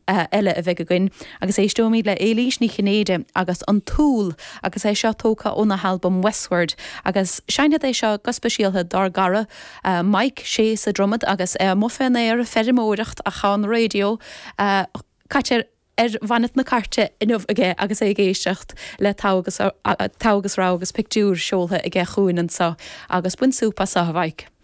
Eile a bheidh againn agus éisteoimid le Éilís Ní Chinnéide agus An tÚll agus é seo tógtha óna halbam Westward agus seinnfead é seo go speisialtha dár gcara Mike, sé sa Dromad agus é amuigh fén aer ag feirmeoireacht ach tá an raidió caite ar bhonnet na cairte inniu aige agus é ag éisteacht le Togha agus Togha agus Rogha agus pictiúr seoltha aige chugainn anseo agus bain súp as seo a Mhike.